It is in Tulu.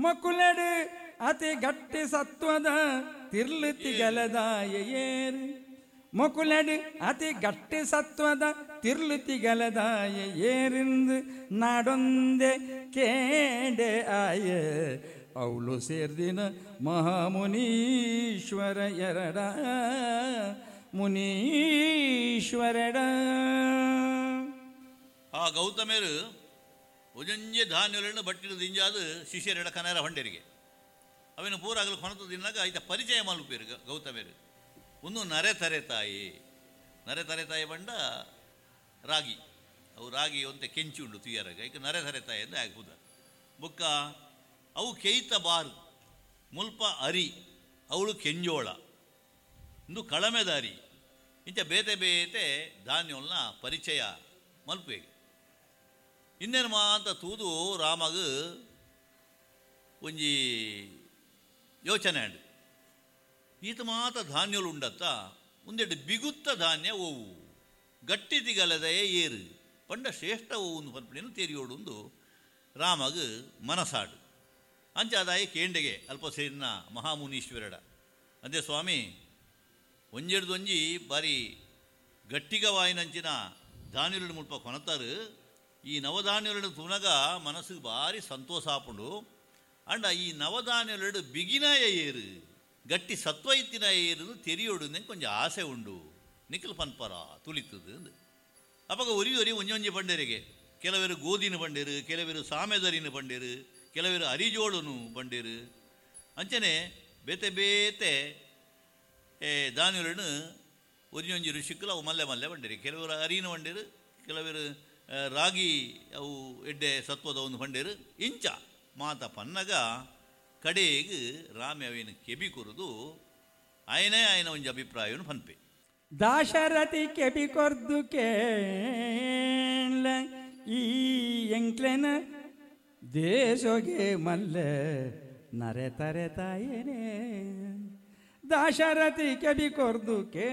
ಮೊಕುಲೆಡು ಅತಿ ಗಟ್ಟಿ ಸತ್ವದ ತಿರ್ಲು ತಿಗಲದಾಯ ಏರು. ಮೊಕುಲೆಡು ಅತಿ ಗಟ್ಟಿ ಸತ್ವದ ತಿರ್ಲು ತಿಗಲದಾಯ ಏರಿಂದು ನಾಡೊಂದೆ ಕೇಂಡೆ ಆಯ. ಅವಳು ಸೇರ್ದಿನ ಮಹಾಮುನೀಶ್ವರ ಎರಡ ಮುನೀಶ್ವರಡ. ಆ ಗೌತಮೇರು ಒಂಜೊಂಜೆ ಧಾನ್ಯಗಳನ್ನು ಬಟ್ಟಿಲು ದಿಂಜಾದು ಶಿಷ್ಯರೆಡ ಕನೇರ ಹೊಂಡೇರಿಗೆ ಅವೇನು ಪೂರಾಗಲು ಕೊನತು ತಿನ್ನಾಗ ಐತ ಪರಿಚಯ ಮಲ್ಪೇರು ಗೌತಮೇರು. ಒಂದು ನರೆ ತರೆ ತಾಯಿ, ನರೆ ತರೆ ತಾಯಿ ಬಂಡ ರಾಗಿ, ಅವು ರಾಗಿ ಒಂತೆ ಕೆಂಚು ಉಂಡು ತುಯ್ಯರಾಗ, ಐಕೆ ನರೆ ತರೆ ತಾಯಿ ಅಂತ ಆಗ್ಬೋದ. ಬೊಕ್ಕ ಅವು ಕೆಯ್ತ ಬಾರು ಮುಲ್ಪ ಅರಿ, ಅವಳು ಕೆಂಜೋಳ, ಇಂದು ಕಳಮೆದಾರಿ, ಇಂಚ ಬೇತೆ ಬೇತೆ ಧಾನ್ಯಗಳನ್ನ ಪರಿಚಯ ಮಲ್ಪೇಗೆ. ಇನ್ನೇನು ಮಾತ ತೂದು ರಾಮಗ ಒಂಜಿ ಯೋಚನೆ ಆಂಡ್, ಈತ ಮಾತ ಧಾನ್ಯಗಳು ಉಂಡತ್ತ ಒಂದೆರಡು ಬಿಗುತ್ತ ಧಾನ್ಯ ಓವು ಗಟ್ಟಿ ತಿಗಲದೆಯೇ ಏರು ಪಂಡ ಶ್ರೇಷ್ಠ ಓವು ಪನ್ಪಣೆಯನ್ನು ತೇರಿಯೋಡುಂದು ರಾಮಗ ಮನಸಾಡು. ಅಂಚಾದಾಯ ಕೇಂಡೆಗೆ ಅಲ್ಪಸೇನ ಮಹಾಮುನೀಶ್ವರಡ ಅಂದೆ, ಸ್ವಾಮಿ ಒಂಜೆಡ್ದೊಂಜಿ ಬಾರಿ ಗಟ್ಟಿಗವಾಯಿನಂಚಿನ ಧಾನ್ಯಗಳು ಮುಲ್ಪ ಕೊನತಾರು, ಈ ನವಧಾನ್ಯಗಳು ತುನಗ ಮನಸ್ಸಿಗೆ ಭಾರಿ ಸಂತೋಷ ಆಪುಂಡು, ಅಂಡ ಈ ನವಧಾನ್ಯಗಳು ಬಿಗಿನಾಯ ಏರು ಗಟ್ಟಿ ಸತ್ವ ಇತ್ತಿನ ಏರು ತೆರಿಯೋಡು ಕೊಂಚ ಆಸೆ ಉಂಡು ನಿಖಲ್ ಪನ್ಪರ ತುಳಿತದು ಅಂದು. ಅಪ್ಪಗ ಒರಿ ಒರಿ ಒಂಜೊಂಜಿ ಬಂಡೇರಿಗೆ, ಕೆಲವರು ಗೋಧಿನ ಬಂಡೇರು, ಕೆಲವರು ಸಾಮೆದರಿನ ಬಂಡೇರು, ಕೆಲವರು ಅರಿಜೋಳನು ಬಂಡೇರು, ಅಂಚನೆ ಬೇತೆ ಬೇತೆ ಧಾನ್ಯಗಳನ್ನು ಒಂಜೊಂಜಿ ಋಷಿಕ್ಕಲು ಅವು ಮಲ್ಲೆ ಮಲ್ಲೆ ಬಂಡೇರಿ, ಕೆಲವರು ಅರಿನ ಬಂಡೇರು, ಕೆಲವರು ರಾಗಿ ಅವು ಎಡ್ಡೆ ಸತ್ವದ ಒಂದು ಬಂಡೇರು. ಇಂಚ ಮಾತ ಪನ್ನಗ ಕಡೆಗೆ ರಾಮೆ ಅವೇನು ಕೆಬಿ ಕೊರದು ಆಯನೇ ಆಯನ ಒಂಜಿ ಅಭಿಪ್ರಾಯವನ್ನು ಪನ್ಪೆ. ದಾಶರಥಿ ಕೆಬಿ ಕೊರ್ದು ಕೇಳ ಈ ಎಂಕ್ಲೆನ ದೇಶೋಗೆ ಮಲ್ಲೆ ನರೆ ತರೆ ತಾಯೇನೆ. ದಾಶರಥಿ ಕೆಬಿ ಕೊರ್ದು ಕೇ